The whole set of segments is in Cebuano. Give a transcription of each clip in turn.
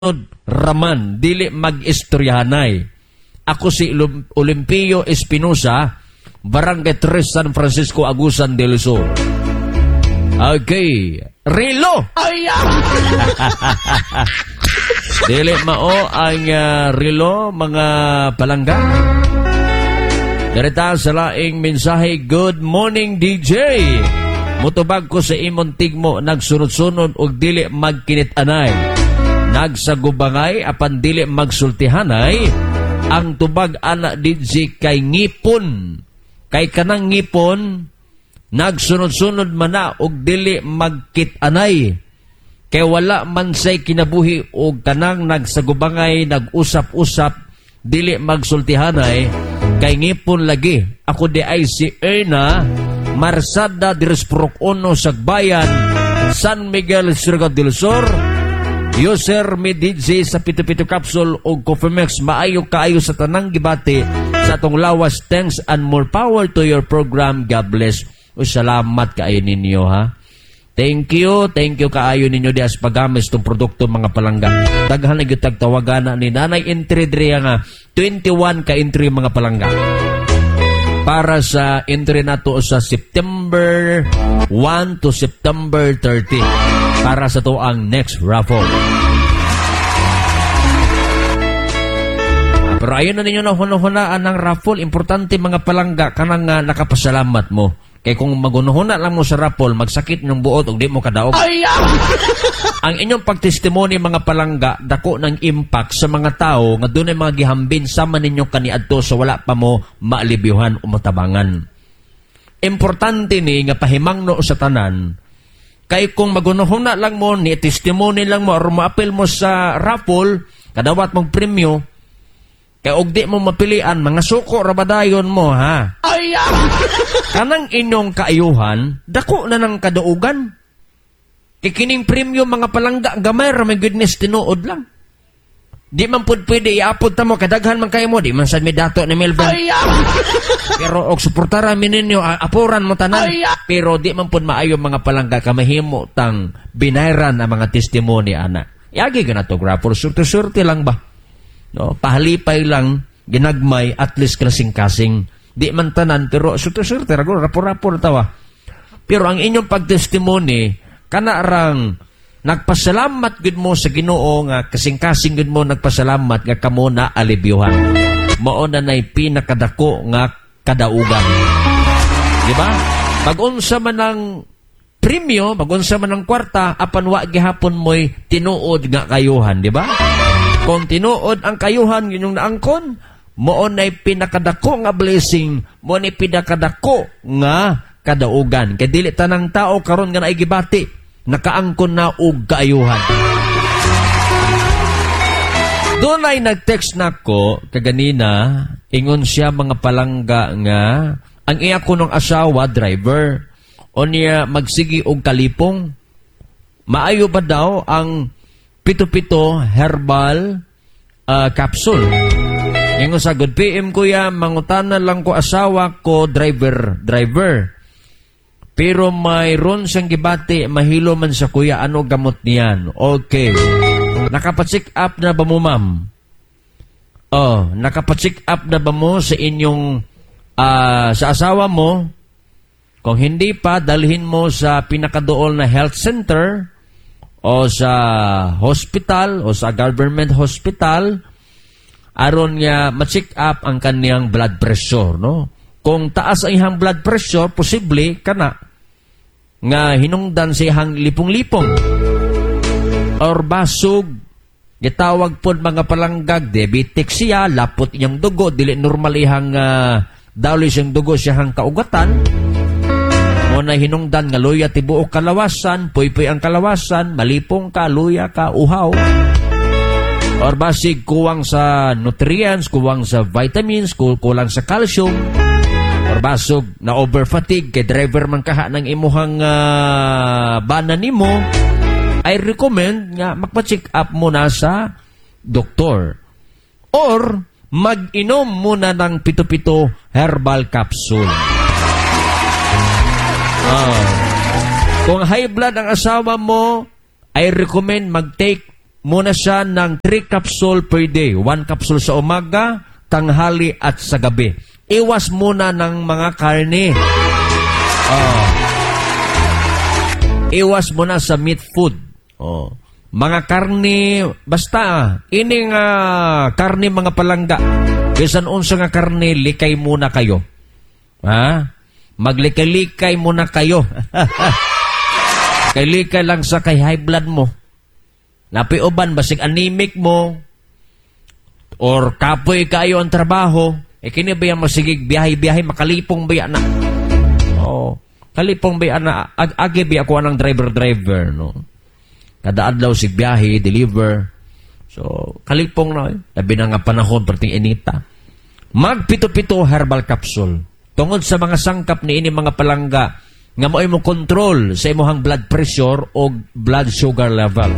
Raman, dili mag-istoryahanay. Ako si Olimpio Espinosa, Barangay 3, San Francisco, Agusan del Sur. Okay. Rilo! Ay! Dili mao ang rilo, mga palangga. Darita sa laing mensahe, "Good morning, DJ. Mutubag ko sa imong tigmo, nagsunod-sunod og dili magkinit-anay. Nagsagubangay apan dili magsultihanay. Ang tubag ana, DJ, kay ngipon. Kay kanang ngipon nagsunod-sunod man na og dili magkit-anay. Kay wala man say kinabuhi og kanang nagsagubangay, nag-usap-usap, dili magsultihanay, kay ngipon lagi. Ako diay si Erna Marsada diri sa Purok Uno, Sagbayan, San Miguel, Surigao del Sur. User mi, DJ, sa pito-pito capsule og Coffee Mix, maayo kaayo sa tanang gibati sa atong lawas. Thanks and more power to your program. God bless." O, salamat kaayo ninyo, ha. Thank you, thank you kaayo ninyo di as paggamit itong produkto, mga palangga. Daghan na gyud tagtawagan na ni nanay entry diri nga 21 ka entry, mga palangga. Para sa entry nato sa September 1 to September 30 para sa to ang next raffle. Pero ayun na ninyo na hunahunaan ng raffle. Importante, mga palangga, kanang nakapasalamat mo. Kay kung magunuhuna lang mo sa raffle, magsakit ng buot ug di mo kadaog. Ay! Ang inyong pagtestimony, mga palangga, dako ng impact sa mga tao nga dunay mga gihambin sama ninyo kaniadto sa wala pa mo maalibyuhan o matabangan. Importante ni nga pahimangno sa tanan. Kay kung magunuhuna lang mo, ni testimony lang mo, or maapil mo sa raffle, kadawat mong premyo, kay og di mo mapilian, mga suko rabadayon mo, ha? Ay! Kanang inyong kaayuhan, dako na ng kadaugan. Kay kining premyo, mga palangga, gamay ra, my goodness, tinuod lang. Di man pud pwede iapod ta mo, kadaghan man kayo mo, di man sad mi dato ni Melvin. Ay! Pero og suportara mi ninyo, apuran mo tanan. Ay! Pero di man pud maayo, mga palangga, kamahimo tang binayran ang mga testimony ana. Yagi ka na to, grapple, surte-surte lang ba? No, pahalipay lang, ginagmay, at least kasing-kasing. Di man tanan, pero surte-surte, rago, rapor-rapor tawa. Pero ang inyong pagtestimony, kanarang nagpasalamat gud mo sa Ginoo nga kasing-kasing gud mo nagpasalamat nga kamo na alibyuhan. Mao na nay pinakadako nga kadaugan. Di ba? Pag-unsa man ang premyo, pag-unsa man ang kwarta, apan wa gihapon mo'y tinuod nga kayuhan, di ba? Kung tinuod ang kayuhan inyong naangkon, mao nay pinakadako nga blessing, mao nay pinakadako nga kadaugan. Kay dili tanang tao karon nga naigibati, nakaangkon na og kaayuhan. Dunay nag-text nako kaganina, ingon siya, mga palangga, nga ang iya ko ng asawa driver o niya magsigi og kalipong. Maayo ba daw ang pito-pito herbal capsule? Ingon sa, "Good PM, kuya, mangutana lang ko, asawa ko driver, driver. Pero mayroon siyang gibati, mahilo man sa kuya, ano gamot niyan?" Okay. Nakapa-check up na ba mo, ma'am? Oh, nakapa-check up na ba mo sa inyong sa asawa mo? Kung hindi pa, dalhin mo sa pinakadool na health center o sa hospital o sa government hospital aron nga ma-check up ang kaniyang blood pressure, no? Kung taas ang iyang blood pressure, posible kana nga hinungdan sa iyang lipong-lipong. Or basog, gitawag pod, mga palanggag, diabetic siya, lapot iyang dugo, dili normal iyang daloy siyang dugo siyang kaugatan. Mo na hinungdan nga luya tibuok kalawasan, puypuy ang kalawasan, malipong ka, luya ka, uhaw. Or basig kuwang sa nutrients, kuwang sa vitamins, kulang sa calcium. Or basog na over fatigue kay driver man kaha ng imuhang bana nimo. I recommend nga magpa-check up muna sa doktor. Or mag-inom muna ng pito-pito herbal capsule. Kung high blood ang asawa mo, I recommend mag-take muna siya ng 3 capsule per day. 1 capsule sa umaga, tanghali at sa gabi. Iwas muna ng mga karne. Oh. Iwas muna sa meat food. Oh. Mga karne, basta, ining karne, mga palangga. Bisan unsa nga karne, likay muna kayo. Ha? Maglikay-likay muna kayo. Kay likay lang sa kay high blood mo. Napi uban, basig anemic mo, or kapoy kayo ang trabaho, eh kini ba yung masigig biyahe-biyahe, makalipong ba yan na? Oh, kalipong ba yan na? Agi ba ako ang driver-driver, no? Kada adlaw sig biyahe, deliver. So, kalipong na. Eh. Labi na nga panahon, perting inita. Magpito-pito herbal capsule. Tungod sa mga sangkap ni ini, mga palangga, nga mo mo control sa imong blood pressure o blood sugar level.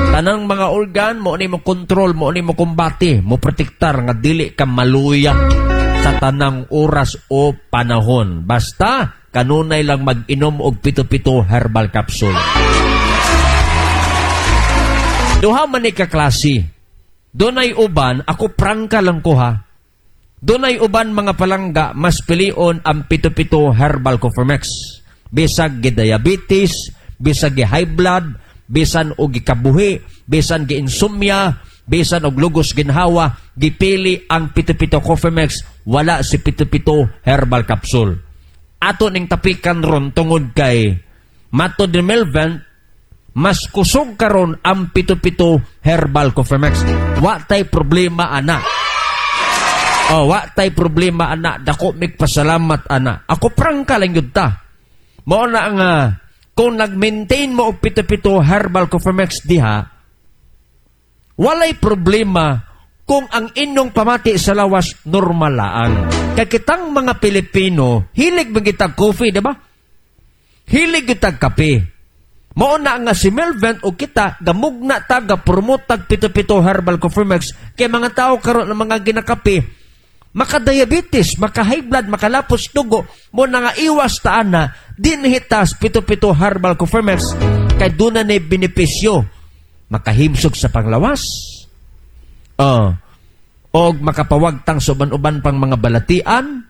Tanang mga organ mo ni mo control, mo ni mo kumbate, mo protektar nga dili ka maluya sa tanang oras o panahon. Basta kanunay lang mag-inom og pito-pito herbal capsule. Duha man ni ka klase. Dunay uban, ako prangka lang ko ha. Dunay uban, mga palangga, mas pilion ang pito-pito herbal Coffee. Bisag gi-diabetes, bisag gi-high blood, bisan og gikabuhi, bisan gi-insomnia, bisan og lugos ginhawa, gipili ang pito-pito Coffee Mix, wala si pito-pito herbal capsule. Ato ning tapikan ron tungod kay matod ni Melvin, mas kusog karon ang pito-pito herbal Coffee Mix. Wa tay problema ana. Oh, wa tay problema ana. Dako mig pasalamat ana. Ako prangka lang yun ta. Mao na nga kung nag-maintain mo og pito-pito herbal Coffee Mix diha, walay problema kung ang inyong pamati sa lawas normal laang. Kay kitang mga Pilipino, hilig man kitag coffee, di ba? Hilig kitag kape. Mao na nga si Melvin o kita gamugna ta, ga-promote tag pito-pito herbal Coffee Mix kay mga tao karon ng mga ginakape maka-diabetes, maka-high blood, makalapos dugo, mo na nga iwas ta ana, dinhitas pito-pito herbal Coffee Mix kay doon na ni benepisyo. Makahimsog sa panglawas. Og makapawagtang sa uban-uban pang mga balatian,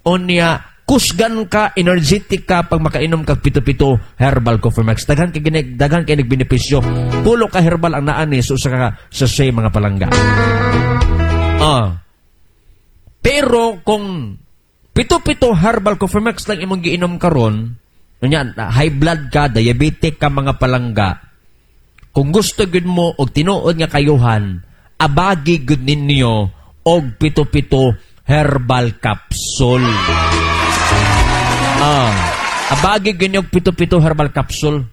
o niya kusgan ka, energetic ka pag makainom kag pito-pito herbal Coffee Mix. Daghan kay ginig, daghan kay nagbenepisyo. Pulo ka herbal ang naani sa usa ka sachet, mga palangga. Pero kung pito-pito herbal Coffee Mix lang imong giinom karon, unya high blood ka, diabetic ka, mga palangga, kung gusto gud mo og tinuod nga kayuhan, abagi gud ninyo og pito-pito herbal capsule. Abagi gud og pito-pito herbal capsule.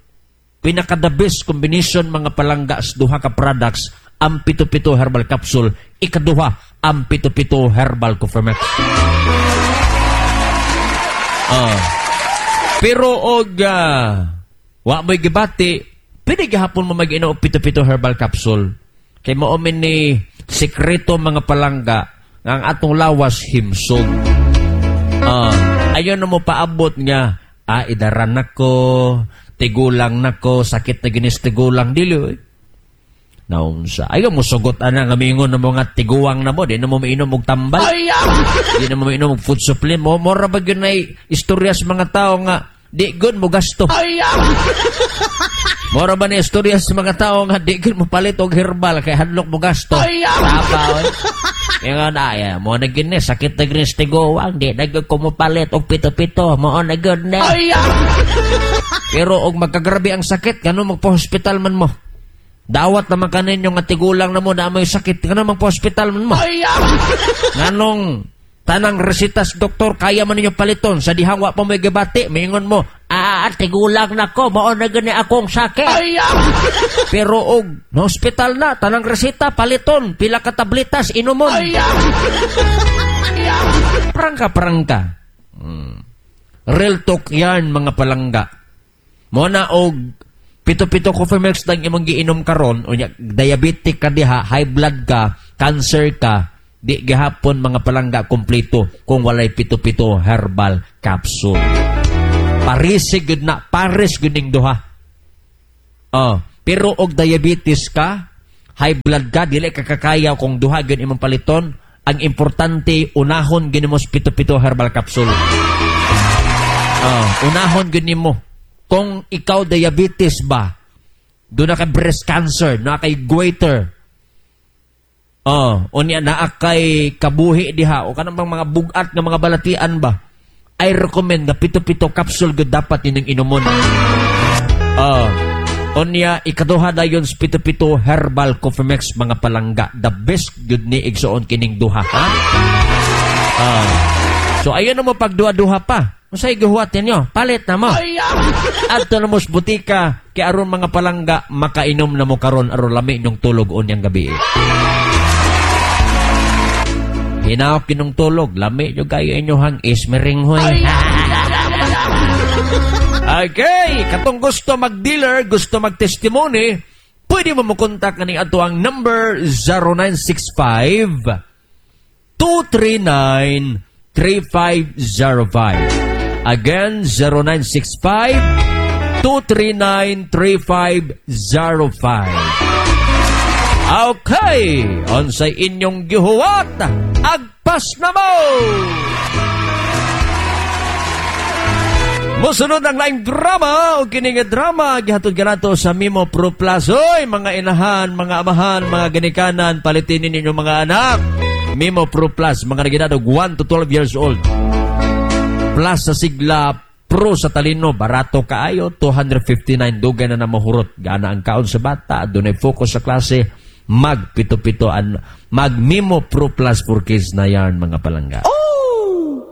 Pinaka the best combination, mga palangga, sa duha ka products ang pito-pito herbal capsule, ikaduha ang pito-pito herbal Coffee Mix. Pero og wa mo'y gibati, pwede gihapon mo mag-inom og pito-pito herbal capsule. Kay mao man ni sekreto, mga palangga, nga ang atong lawas himsog. Ayon na mo paabot nga idaran nako, tigulang nako, sakit na ginis tigulang, dili oy. Naunsa. Ayaw mo sugot ana nga mingon ng mga tiguang na mo, di na mo mainom og tambal. Di na mo mainom og food supplement. Mo mora ba gyud nay istorya sa mga tao nga di gud mo gasto. Mora ba ni istorya sa mga tao nga di gud mo palit og herbal kay hadlok mo gasto. Tapa oy. Ingon ay mo na gini sakit na gini sa tiguang, di na gyud ko mo palit og pito-pito, mo na gyud na. Pero og magkagrabe ang sakit, ngano magpa-hospital man mo? Dawat naman kaninyo nga tigulang na mo na may sakit, ngano magpa-hospital man mo? Nganong tanang resitas doktor kaya man ninyo paliton sa dihang wa pa mo'y gibati, mingon mo, "Tigulang na ko, mao na gani akong sakit." Pero og na hospital na, tanang reseta paliton, pila ka tabletas inumon. Prangka prangka. Real talk yan, mga palangga. Mo na og pito-pito Coffee Mix lang imong giinom karon, unya diabetic ka diha, high blood ka, cancer ka, di gihapon, mga palangga, kompleto kung walay pito-pito herbal capsule. Paris gud na, pares gud ning duha. Oh, Pero og diabetes ka, high blood ka, dili ka kakaya kung duha gyud imong paliton, ang importante unahon gyud nimo sa pito-pito herbal capsule. Oh, unahon gyud nimo. Kung ikaw diabetes ba, duna kay breast cancer, naa kay goiter. Oh, unya naa kay kabuhi diha o kanang mga bugat nga mga balatian ba? I recommend nga pito-pito capsule gyud dapat inyong inumon. Oh, unya ikaduha dayon sa pito-pito herbal coffee mix, mga palangga. The best gyud ni, igsuon, kining duha, ha? Ah. So ayun na mo pagduha-duha pa. Unsay gihuwat ninyo? Palit na mo. Adto na mo sa butika kay aron, mga palangga, makainom na mo karon aron lami inyong tulog unyang gabi. Hinaok inyong tulog, lami nyo kayo inyohang ismiringhoy. Okay, katong gusto mag-dealer, gusto mag-testimony, pwede mo mo kontak kaning ato ang number 0965 239 3505. Again, 0965 239 3505. Okay, unsay inyong gihuwat, agpas na mo! Musunod ang laing drama o kini nga drama gihatod kanato sa Mimo Pro Plus. Oy, mga inahan, mga amahan, mga ginikanan, palitinin ninyo mga anak. Mimo Pro Plus, mga nagedad og 1 to 12 years old. Plus sa sigla, Pro sa talino, barato kaayo, 259, dugay na na mahurot. Gana ang kaon sa bata, dunay focus sa klase, mag pito-pito an mag Mimo Pro Plus for Kids na yarn, mga palangga.